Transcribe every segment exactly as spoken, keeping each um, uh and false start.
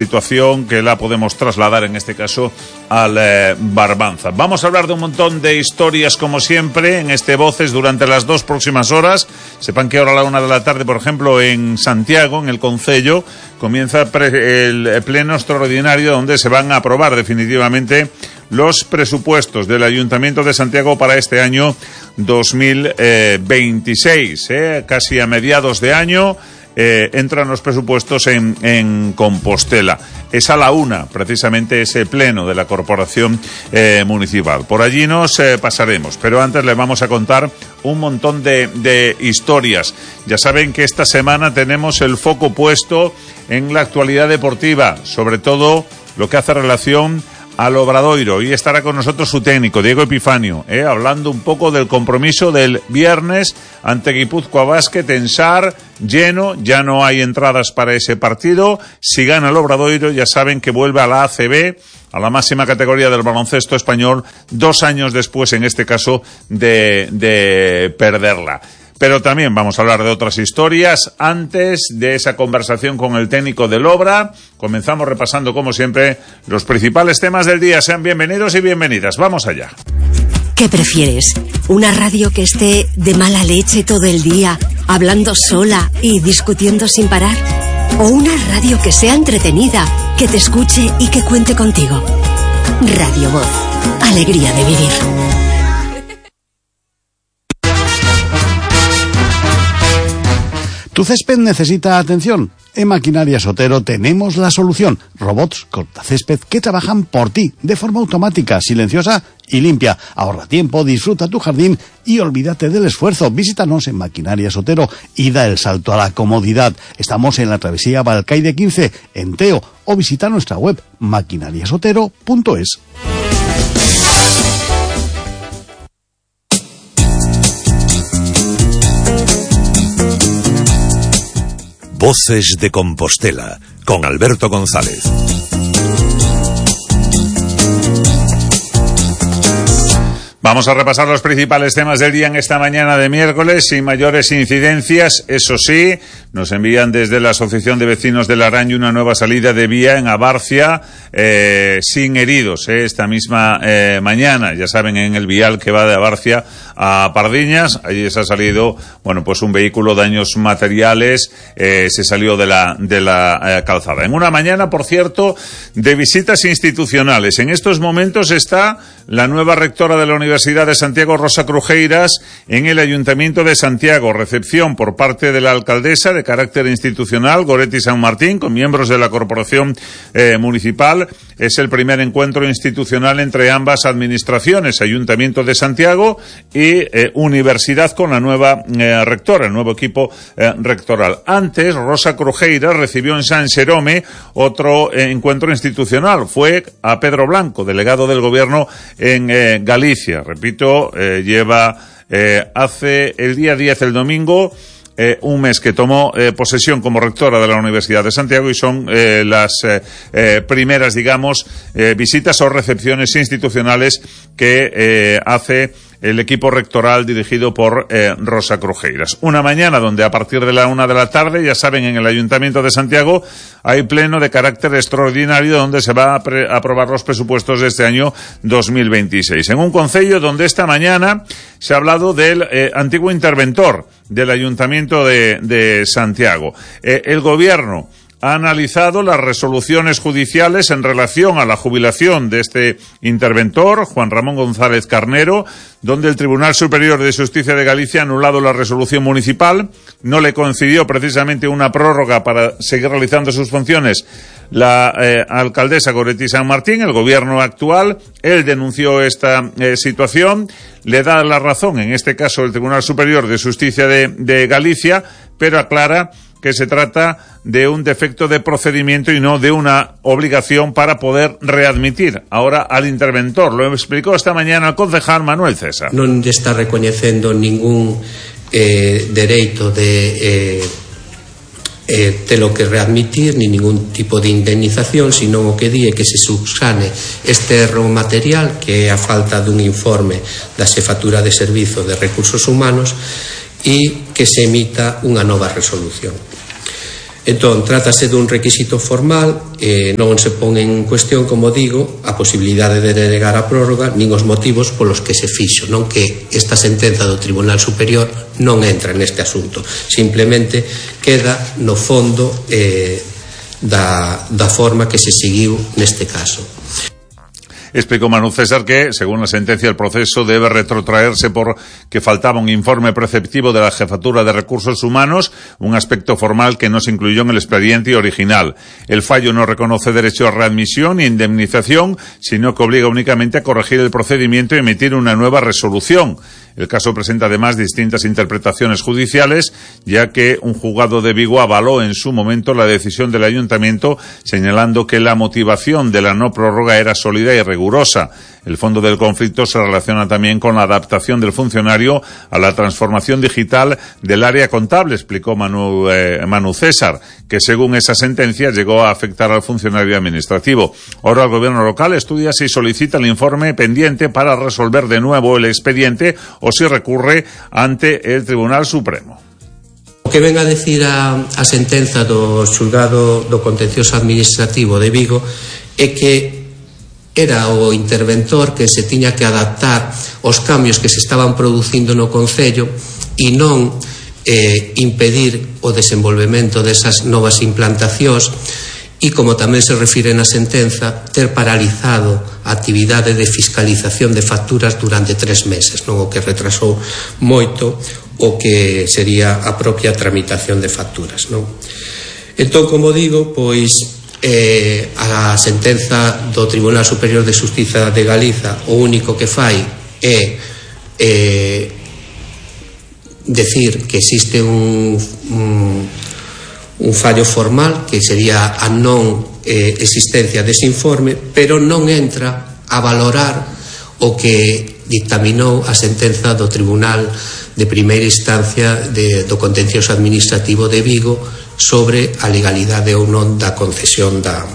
situación que la podemos trasladar en este caso al eh, Barbanza. Vamos a hablar de un montón de historias como siempre en este Voces durante las dos próximas horas. Sepan que ahora a la una de la tarde, por ejemplo, en Santiago, en el Concello, comienza el pleno extraordinario donde se van a aprobar definitivamente los presupuestos del Ayuntamiento de Santiago para este año dos mil veintiséis, eh, casi a mediados de año. Eh, entran los presupuestos en, en Compostela. Es a la una, precisamente, ese pleno de la Corporación eh, Municipal. Por allí nos eh, pasaremos, pero antes les vamos a contar un montón de, de historias. Ya saben que esta semana tenemos el foco puesto en la actualidad deportiva, sobre todo lo que hace relación al Obradoiro, y estará con nosotros su técnico, Diego Epifanio, eh, hablando un poco del compromiso del viernes ante Guipúzcoa Basket en Sar, lleno, ya no hay entradas para ese partido. Si gana el Obradoiro, ya saben que vuelve a la A C B, a la máxima categoría del baloncesto español, dos años después, en este caso, de, de perderla. Pero también vamos a hablar de otras historias. Antes de esa conversación con el técnico del Obra, comenzamos repasando, como siempre, los principales temas del día. Sean bienvenidos y bienvenidas. Vamos allá. ¿Qué prefieres? ¿Una radio que esté de mala leche todo el día, hablando sola y discutiendo sin parar? ¿O una radio que sea entretenida, que te escuche y que cuente contigo? Radio Voz. Alegría de vivir. ¿Tu césped necesita atención? En Maquinarias Otero tenemos la solución. Robots cortacésped que trabajan por ti, de forma automática, silenciosa y limpia. Ahorra tiempo, disfruta tu jardín y olvídate del esfuerzo. Visítanos en Maquinarias Otero y da el salto a la comodidad. Estamos en la travesía Balcaide quince, en Teo, o visita nuestra web maquinarias otero punto es. Voces de Compostela, con Alberto González. Vamos a repasar los principales temas del día en esta mañana de miércoles, sin mayores incidencias. Eso sí, nos envían desde la Asociación de Vecinos de Laraño una nueva salida de vía en Abarcia, eh, sin heridos, eh, esta misma eh, mañana. Ya saben, en el vial que va de Abarcia a Pardiñas, allí se ha salido, bueno, pues un vehículo, daños materiales, eh, se salió de la, de la eh, calzada. En una mañana, por cierto, de visitas institucionales. En estos momentos está la nueva rectora de la Universidad de Santiago, Rosa Crujeiras, en el Ayuntamiento de Santiago. Recepción por parte de la alcaldesa de carácter institucional, Goretti San Martín, con miembros de la Corporación eh, Municipal. Es el primer encuentro institucional entre ambas administraciones, Ayuntamiento de Santiago y eh, Universidad, con la nueva eh, rectora, el nuevo equipo eh, rectoral. Antes, Rosa Crujeiras recibió en San Xerome otro eh, encuentro institucional. Fue a Pedro Blanco, delegado del Gobierno en eh, Galicia. Repito, eh, lleva eh, hace el día diez, el domingo, Eh, un mes que tomó eh, posesión como rectora de la Universidad de Santiago, y son eh, las eh, eh, primeras, digamos, eh, visitas o recepciones institucionales que eh, hace el equipo rectoral dirigido por eh, Rosa Crujeiras. Una mañana donde a partir de la una de la tarde, ya saben, en el Ayuntamiento de Santiago hay pleno de carácter extraordinario donde se va a, a aprobar los presupuestos de este año dos mil veintiséis. En un concello donde esta mañana se ha hablado del eh, antiguo interventor del Ayuntamiento de, de Santiago. Eh, el Gobierno ha analizado las resoluciones judiciales en relación a la jubilación de este interventor, Juan Ramón González Carnero, donde el Tribunal Superior de Justicia de Galicia ha anulado la resolución municipal. No le concedió precisamente una prórroga para seguir realizando sus funciones la eh, alcaldesa Goretti San Martín, el gobierno actual. Él denunció esta eh, situación, le da la razón, en este caso el Tribunal Superior de Justicia de, de Galicia, pero aclara que se trata de un defecto de procedimiento y no de una obligación para poder readmitir ahora al interventor. Lo explicó esta mañana el concejal Manuel César. Non está recoñecendo ningún eh, dereito de eh, eh, telo que readmitir, ni ningún tipo de indemnización, sino o que di é que se subsane este erro material, que é a falta dun informe da Xefatura de Servizo de Recursos Humanos, e que se emita unha nova resolución. Entón, trátase dun requisito formal, eh, non se pon en cuestión, como digo, a posibilidade de denegar a prórroga nin os motivos polos que se fixo, non que esta sentenza do Tribunal Superior non entra neste asunto, simplemente queda no fondo eh, da, da forma que se seguiu neste caso. Explicó Manu César que, según la sentencia, el proceso debe retrotraerse porque faltaba un informe preceptivo de la Jefatura de Recursos Humanos, un aspecto formal que no se incluyó en el expediente original. El fallo no reconoce derecho a readmisión ni indemnización, sino que obliga únicamente a corregir el procedimiento y emitir una nueva resolución. El caso presenta además distintas interpretaciones judiciales, ya que un juzgado de Vigo avaló en su momento la decisión del Ayuntamiento, señalando que la motivación de la no prórroga era sólida y rigurosa. El fondo del conflicto se relaciona también con la adaptación del funcionario a la transformación digital del área contable, explicó Manu, eh, Manu César, que según esa sentencia llegó a afectar al funcionario administrativo. Ahora el gobierno local estudia si solicita el informe pendiente para resolver de nuevo el expediente o si recurre ante el Tribunal Supremo. O que ven a decir a, a sentenza do xulgado do contencioso administrativo de Vigo é que era o interventor que se tiña que adaptar aos cambios que se estaban producindo no Concello e non eh, impedir o desenvolvemento desas novas implantacións e, como tamén se refire na sentenza, ter paralizado a actividade de fiscalización de facturas durante tres meses, non o que retrasou moito o que sería a propia tramitación de facturas, non? Entón, como digo, pois Eh, a sentenza do Tribunal Superior de Xustiza de Galiza o único que fai é eh, decir que existe un, un, un fallo formal que sería a non eh, existencia dese informe, pero non entra a valorar o que dictaminou a sentenza do Tribunal de Primeira Instancia de, do Contencioso Administrativo de Vigo sobre a legalidade ou non da concesión da,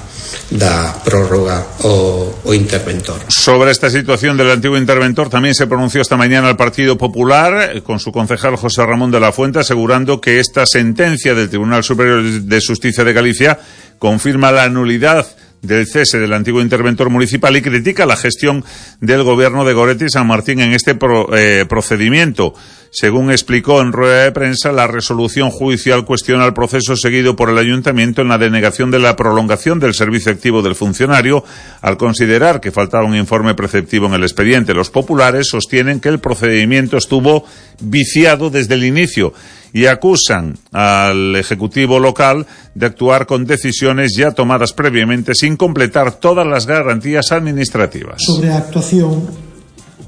da prórroga ao, ao interventor. Sobre esta situación del antiguo interventor también se pronunció esta mañana el Partido Popular con su concejal José Ramón de la Fuente, asegurando que esta sentencia del Tribunal Superior de Justicia de Galicia confirma la nulidad del cese del antiguo interventor municipal y critica la gestión del gobierno de Goretti y San Martín en este pro, eh, procedimiento. Según explicó en rueda de prensa, la resolución judicial cuestiona el proceso seguido por el Ayuntamiento en la denegación de la prolongación del servicio activo del funcionario, al considerar que faltaba un informe preceptivo en el expediente. Los populares sostienen que el procedimiento estuvo viciado desde el inicio y acusan al Ejecutivo local de actuar con decisiones ya tomadas previamente sin completar todas las garantías administrativas. Sobre a actuación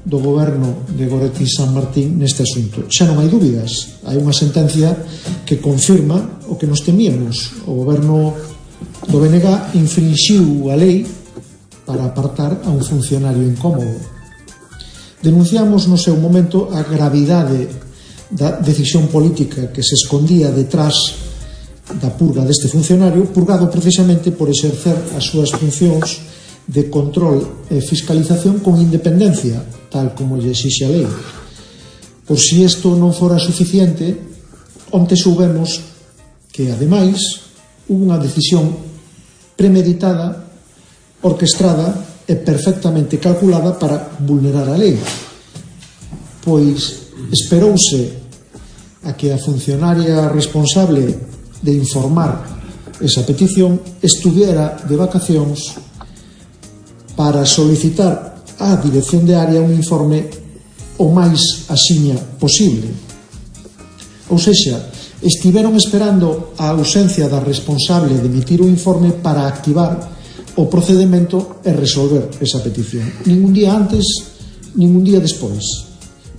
do goberno de Goretti e San Martín neste asunto, xa non hai dúbidas, hai unha sentencia que confirma o que nos temíamos. O goberno do B N G infrinxiu a lei para apartar a un funcionario incómodo. Denunciamos no seu momento a gravidade da decisión política que se escondía detrás da purga deste funcionario, purgado precisamente por exercer as súas funcións de control e fiscalización con independencia, tal como lle exixe a lei. Por si isto non fora suficiente, onte soubemos que, ademais, hubo unha decisión premeditada, orquestrada e perfectamente calculada para vulnerar a lei. Pois esperouse a que a funcionaria responsable de informar esa petición estuviera de vacacións para solicitar á Dirección de Área un informe o máis axiña posible. Ou sexa, estiveron esperando a ausencia da responsable de emitir o informe para activar o procedimento e resolver esa petición. Ningún día antes, ningún día despois.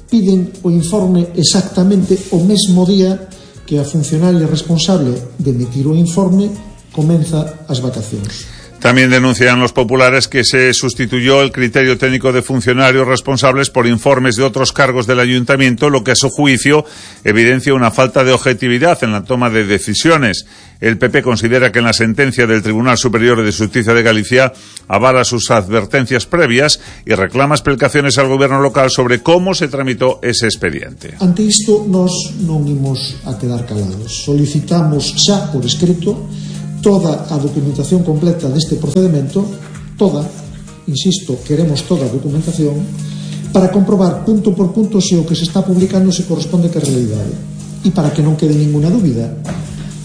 Piden o informe exactamente o mesmo día que a funcionaria responsable de emitir o informe comeza as vacacións. También denuncian los populares que se sustituyó el criterio técnico de funcionarios responsables por informes de otros cargos del ayuntamiento, lo que a su juicio evidencia una falta de objetividad en la toma de decisiones. El P P considera que en la sentencia del Tribunal Superior de Justicia de Galicia avala sus advertencias previas y reclama explicaciones al gobierno local sobre cómo se tramitó ese expediente. Ante isto, nós non imos a quedar calados. Solicitamos xa por escrito toda a documentación completa deste procedimento, toda, insisto, queremos toda a documentación, para comprobar punto por punto se o que se está publicando se corresponde que a realidade. E para que non quede ninguna dúbida,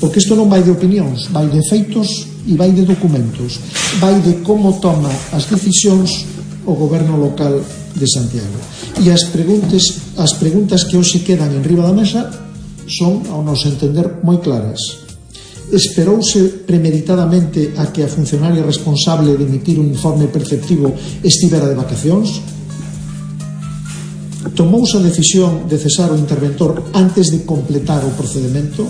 porque isto non vai de opinións, vai de feitos e vai de documentos, vai de como toma as decisións o goberno local de Santiago. E as preguntas, as preguntas que hoxe quedan en riba da mesa son, ao noso entender, moi claras. Esperouse premeditadamente a que a funcionaria responsable de emitir un informe perceptivo estivera de vacacións? Tomouse a decisión de cesar o interventor antes de completar o procedimento?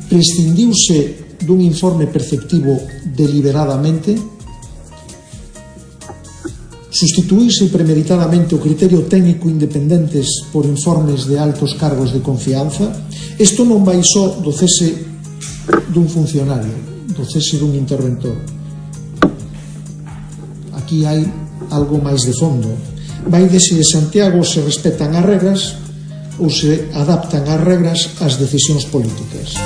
Prescindiuse dun informe perceptivo deliberadamente? Sustituíse premeditadamente o criterio técnico independentes por informes de altos cargos de confianza? Isto non vai só do cese dun funcionario, do cese dun interventor. Aquí hai algo máis de fondo. Vai de se Santiago se respetan as regras ou se adaptan as regras ás decisións políticas.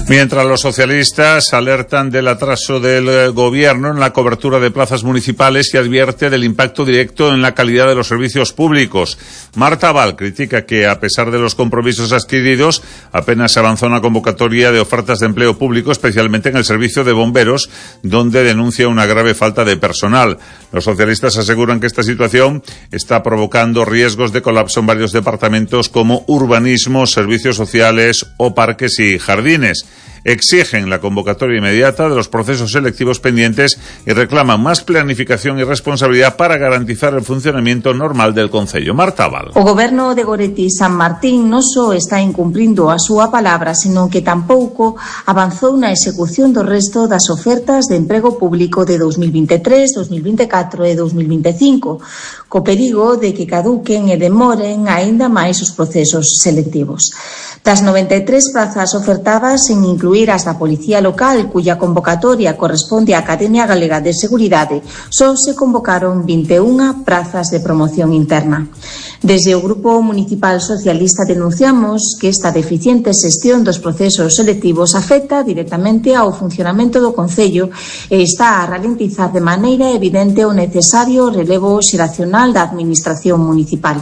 Mientras los socialistas alertan del atraso del gobierno en la cobertura de plazas municipales y advierte del impacto directo en la calidad de los servicios públicos. Marta Val critica que, a pesar de los compromisos adquiridos, apenas se avanzó una convocatoria de ofertas de empleo público, especialmente en el servicio de bomberos, donde denuncia una grave falta de personal. Los socialistas aseguran que esta situación está provocando riesgos de colapso en varios departamentos como urbanismo, servicios sociales o parques y jardines. Exigen la convocatoria inmediata de los procesos selectivos pendientes y reclaman más planificación y responsabilidad para garantizar el funcionamiento normal del concello. Marta Val. O goberno de Goretti San Martín non só está incumplindo a súa palabra, senón que tampouco avanzou na execución do resto das ofertas de emprego público de dos mil veintitrés, dos mil veinticuatro e dos mil veinticinco, co perigo de que caduquen e demoren aínda máis os procesos selectivos. Das noventa e tres prazas ofertadas, sen incluir as da Policía Local, cuya convocatoria corresponde á Academia Galega de Seguridade, só se convocaron vinte e unha prazas de promoción interna. Desde o Grupo Municipal Socialista denunciamos que esta deficiente xestión dos procesos selectivos afecta directamente ao funcionamento do Concello e está a ralentizar de maneira evidente o necesario relevo xeracional da Administración Municipal.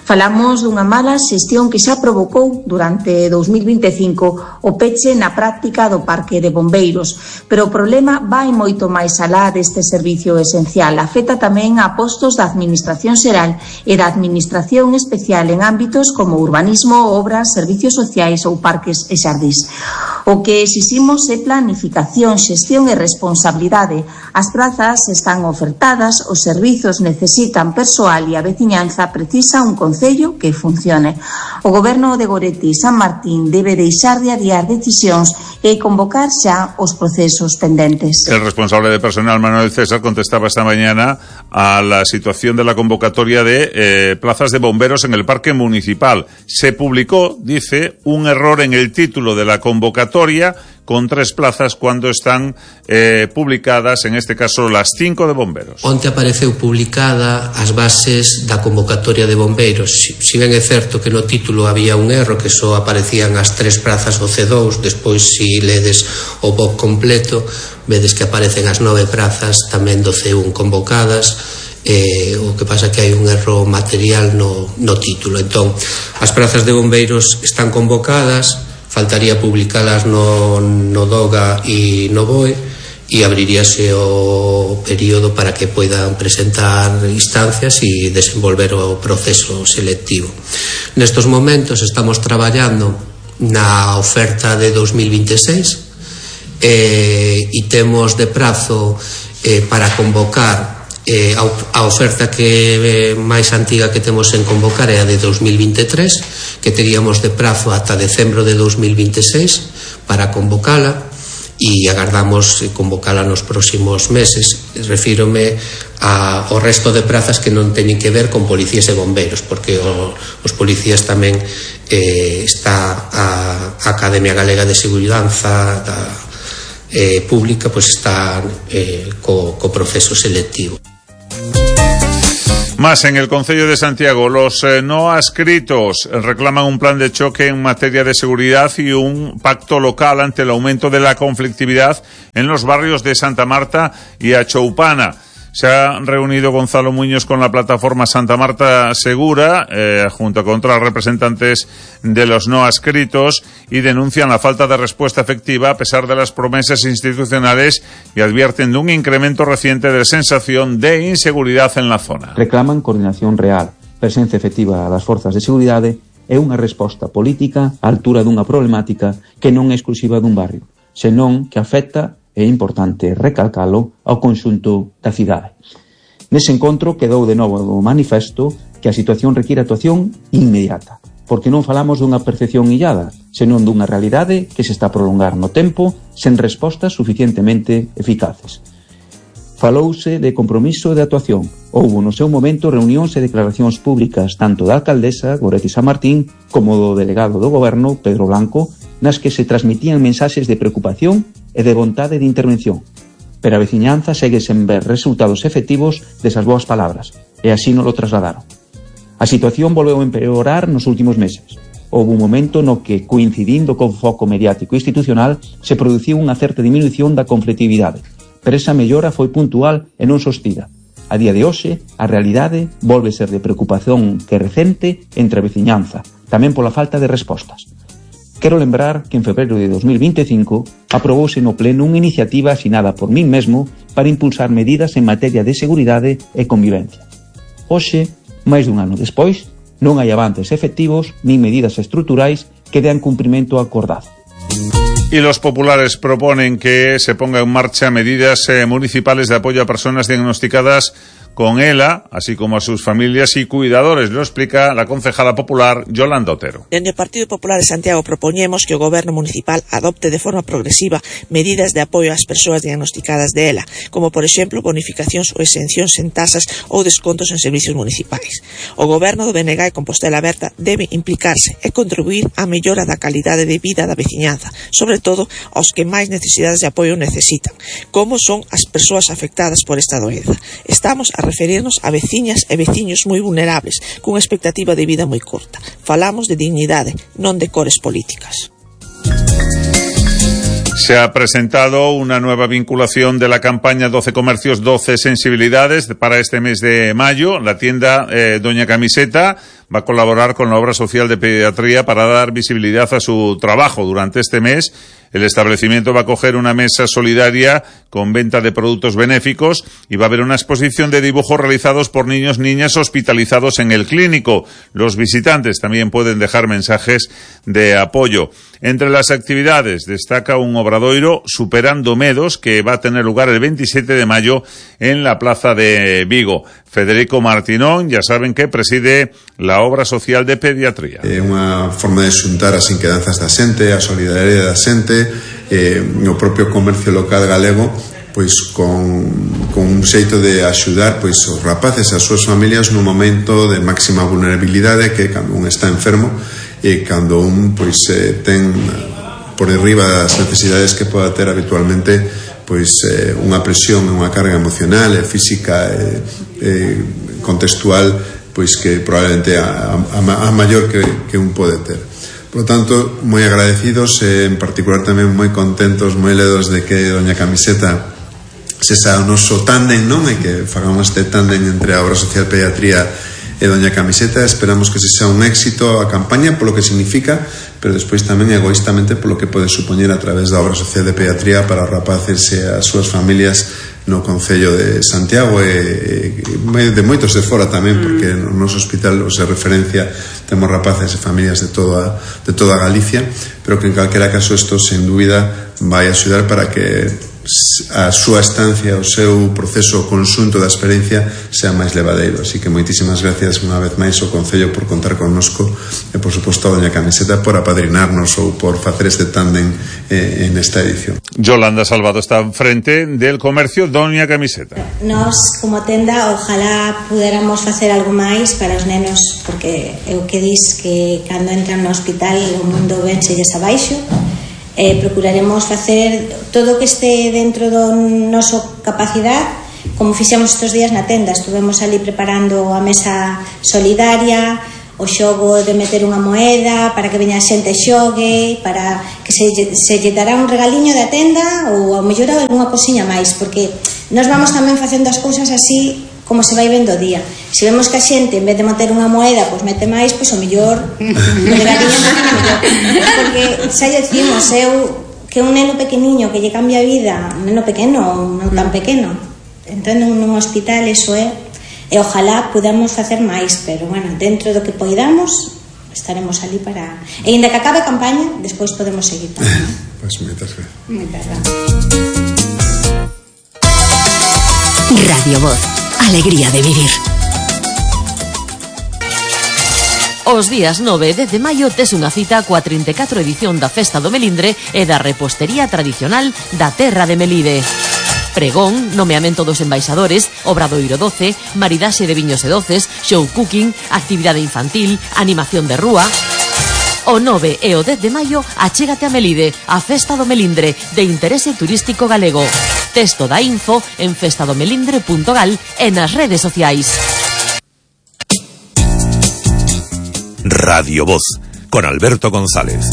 Falamos dunha mala xestión que xa provocou durante dos mil veinticinco o peche na práctica do parque de bombeiros, pero o problema vai moito máis alá deste servicio esencial. Afecta tamén a postos da Administración Xeral e da Administración Especial en ámbitos como urbanismo, obras, servicios sociais ou parques e xardís. O que exiximos é planificación, xestión e responsabilidade. As prazas están ofertadas, os servizos necesitan persoal e a veciñanza precisa un concello que funcione. O goberno de Goretti San Martín debe deixar de adiar decisións e convocar xa os procesos pendentes. El responsable de personal, Manuel César, contestaba esta mañana a la situación de la convocatoria de eh, plazas de bomberos en el parque municipal. Se publicó, dice, un error en el título de la convocatoria con tres plazas cuando están eh, publicadas, en este caso, las cinco de bomberos. Onte apareceu publicada as bases da convocatoria de bombeiros. Si, si ben é certo que no título había un erro, que só aparecían as tres prazas do C dous, despois si ledes o B O C completo, vedes que aparecen as nove prazas tamén do C un convocadas. Eh, o que pasa que hai un erro material no, no título. Entón, as prazas de bombeiros están convocadas, faltaría publicalas no, no DOGA e no B O E e abriríase o período para que poidan presentar instancias e desenvolver o proceso selectivo. Nestos momentos estamos traballando na oferta de dos mil veintiséis eh, e temos de prazo eh, para convocar Eh, a, a oferta que eh, máis antiga que temos en convocar é a de dos mil veintitrés, que teríamos de prazo ata decembro de dos mil veintiséis para convocala e agardamos convocala nos próximos meses. Refírome a, ao resto de prazas que non teñen que ver con policías e bombeiros, porque o, os policías tamén eh, está a, a Academia Galega de Seguridade da, eh, Pública, pois está eh, co, co proceso selectivo. Más en el Concello de Santiago, los eh, no adscritos reclaman un plan de choque en materia de seguridad y un pacto local ante el aumento de la conflictividad en los barrios de Santa Marta y Achoupana. Se ha reunido Gonzalo Muñoz con la plataforma Santa Marta Segura, eh, junto con otros representantes de los no adscritos, y denuncian la falta de respuesta efectiva a pesar de las promesas institucionales y advierten de un incremento reciente de sensación de inseguridad en la zona. Reclaman coordinación real, presencia efectiva das forzas de seguridade e unha resposta política á altura dunha problemática que non é exclusiva dun barrio, senón que afecta, é importante recalcalo, ao conxunto da cidade. Nese encontro quedou de novo o manifesto que a situación require actuación inmediata, porque non falamos dunha percepción illada, senón dunha realidade que se está a prolongar no tempo sen respostas suficientemente eficaces. Falouse de compromiso de actuación. Houbo no seu momento reunións e declaracións públicas tanto da alcaldesa Goretti San Martín como do delegado do goberno Pedro Blanco, nas que se transmitían mensaxes de preocupación e de vontade de intervención. Pero a veciñanza segue sen ver resultados efectivos desas boas palabras, e así non lo trasladaron. A situación volveu a empeorar nos últimos meses. Houve un momento no que, coincidindo con foco mediático e institucional, se produciu unha certa diminución da conflictividade, pero esa mellora foi puntual e non sostida. A día de hoxe, a realidade volve ser de preocupación que recente entre a veciñanza, tamén pola falta de respostas. Quero lembrar que en febreiro de dos mil vinte e cinco aprobouse no Pleno unha iniciativa asinada por min mesmo para impulsar medidas en materia de seguridade e convivencia. Hoxe, máis dun ano despois, non hai avances efectivos nin medidas estruturais que dean cumprimento ao acordado. Y los populares proponen que se ponga en marcha medidas eh, municipales de apoyo a personas diagnosticadas con E L A, así como a sus familias y cuidadores. Lo explica la concejala popular Yolanda Otero. Dende o Partido Popular de Santiago propoñemos que o Goberno Municipal adopte de forma progresiva medidas de apoio ás persoas diagnosticadas de E L A, como por exemplo bonificacións ou exencións en tasas ou descontos en servicios municipais. O Goberno do B N G e Compostela Aberta debe implicarse e contribuir á mellora da calidade de vida da veciñanza, sobre todo aos que máis necesidades de apoio necesitan, como son as persoas afectadas por esta doenza. Estamos a referirnos a veciñas e veciños moi vulnerables, cunha expectativa de vida moi curta. Falamos de dignidade, non de cores políticas. Se ha presentado una nueva vinculación de la campaña doce comercios, doce sensibilidades para este mes de mayo. La tienda eh, Doña Camiseta va a colaborar con la obra social de pediatría para dar visibilidad a su trabajo durante este mes. El establecimiento va a acoger una mesa solidaria con venta de productos benéficos y va a haber una exposición de dibujos realizados por niños y niñas hospitalizados en el clínico. Los visitantes también pueden dejar mensajes de apoyo. Entre las actividades destaca un obradoiro Superando Medos que va a tener lugar el veintisiete de mayo en la Plaza de Vigo. Federico Martinón, ya saben que preside la obra social de pediatría. É unha forma de xuntar as inquedanzas da xente, a solidariedade da xente, eh, o propio comercio local galego, pois con, con un xeito de axudar pois os rapaces e as súas familias nun momento de máxima vulnerabilidade, que cando un está enfermo e cando un pois eh, ten por arriba das necesidades que poda ter habitualmente, pois eh, unha presión, unha carga emocional e física e eh, contextual, pois que probablemente a, a, a maior que, que un pode ter. Por lo tanto, moi agradecidos e en particular tamén moi contentos, moi ledos de que Doña Camiseta se xa o noso tándem, non? E que fagamos este tándem entre a obra social pediatría e Doña Camiseta. Esperamos que se xa un éxito a campaña polo que significa, pero despois tamén egoístamente polo que pode supoñer a través da obra social de pediatría para os rapaces e as súas familias no Concello de Santiago e, e de moitos de fora tamén, porque no noso hospital os de referencia temos rapaces e familias de toda, de toda Galicia, pero que en calquera caso isto sen dúbida vai axudar para que a súa estancia, o seu proceso, o conxunto da experiencia sea máis levadeiro. Así que moitísimas gracias unha vez máis ao Concello por contar connosco e por suposto a doña Camiseta por apadrinarnos ou por facer este tándem eh, en esta edición. Yolanda Salvado está frente del comercio doña Camiseta. Nós, como tenda, ojalá puderamos facer algo máis para os nenos, porque é o que dis que cando entran no hospital o mundo vénselles abaixo. Eh, procuraremos facer todo o que este dentro do noso capacidade, como fixemos estes días na tenda. Estuvemos ali preparando a mesa solidaria, o xogo de meter unha moeda para que veña a xente xogue, para que se, se lle dará un regaliño da tenda ou ao mellor algunha cosiña máis, porque nós vamos tamén facendo as cousas así como se vai vendo o día. Se vemos que a xente, en vez de meter unha moeda, pois mete máis, pois o mellor o regaliño mellor. Porque xa lle decimos, eu que un neno pequeniño que lle cambia a vida, un neno pequeno, non tan pequeno, entón nun hospital, eso é, e ojalá podamos facer máis, pero bueno, dentro do que poidamos estaremos ali para... E ainda que acabe a campaña, despois podemos seguir tamén. Pois moitas gracias. Moitas gracias. Radio Voz. Alegría de vivir. Os días nove e dez de maio tes unha cita coa trinta e catro edición da Festa do Melindre e da repostería tradicional da terra de Melide. Pregón, nomeamento dos embaixadores, obradoiro doce, maridaxe de viños e doces, show cooking, actividade infantil, animación de rúa... O nove e o dez de maio achégate a Melide, a Festa do Melindre, de interese turístico galego. Texto da info en festadomelindre punto gal e nas redes sociais. Radio Voz, con Alberto González.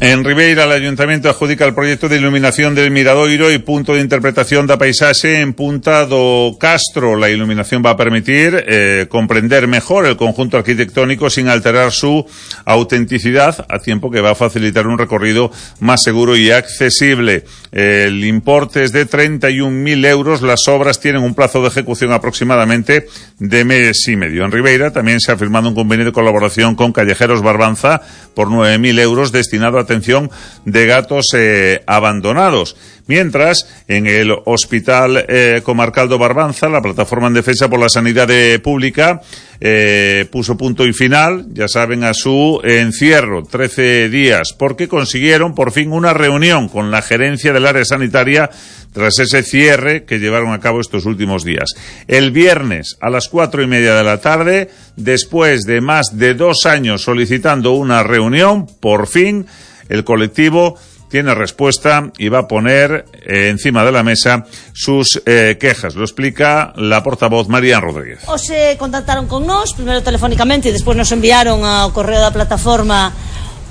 En Ribeira, el Ayuntamiento adjudica el proyecto de iluminación del Miradoiro y punto de interpretación da paisaxe en Punta do Castro. La iluminación va a permitir eh, comprender mejor el conjunto arquitectónico sin alterar su autenticidad, a tiempo que va a facilitar un recorrido más seguro y accesible. El importe es de treinta y un mil euros. Las obras tienen un plazo de ejecución aproximadamente de mes y medio. En Ribeira también se ha firmado un convenio de colaboración con Callejeros Barbanza por nueve mil euros destinado a atención de gatos eh, abandonados. Mientras, en el Hospital eh, Comarcal do Barbanza, la Plataforma en Defensa por la Sanidad Pública eh, puso punto y final, ya saben, a su encierro, trece días, porque consiguieron por fin una reunión con la gerencia del área sanitaria tras ese cierre que llevaron a cabo estos últimos días. El viernes a las cuatro y media de la tarde, después de más de dos años solicitando una reunión, por fin el colectivo tiene respuesta y va a poner eh, encima de la mesa sus eh, quejas. Lo explica la portavoz María Rodríguez. O se contactaron con nós, primeiro telefónicamente, e despois nos enviaron ao correo da plataforma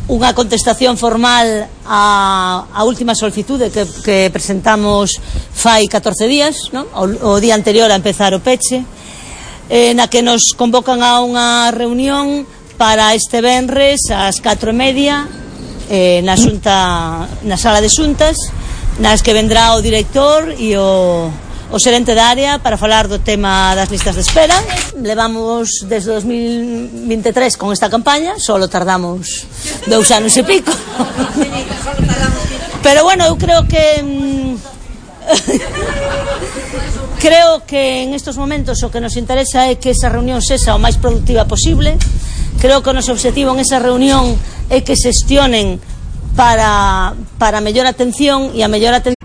unha contestación formal á, á última solicitude que, que presentamos fai catorce días, non? O, o día anterior a empezar o peche, eh, na que nos convocan a unha reunión para este venres ás catro e media eh, na, xunta, na sala de xuntas, nas que vendrá o director e o, o xerente da área para falar do tema das listas de espera. Levamos desde dos mil vinte e tres con esta campaña, solo tardamos dous anos e pico. Pero bueno, eu creo que creo que en estos momentos o que nos interesa é que esa reunión sexa o máis productiva posible. Creo que o noso objetivo en esa reunión é que xestionen para, para mellor atención e a mellor atención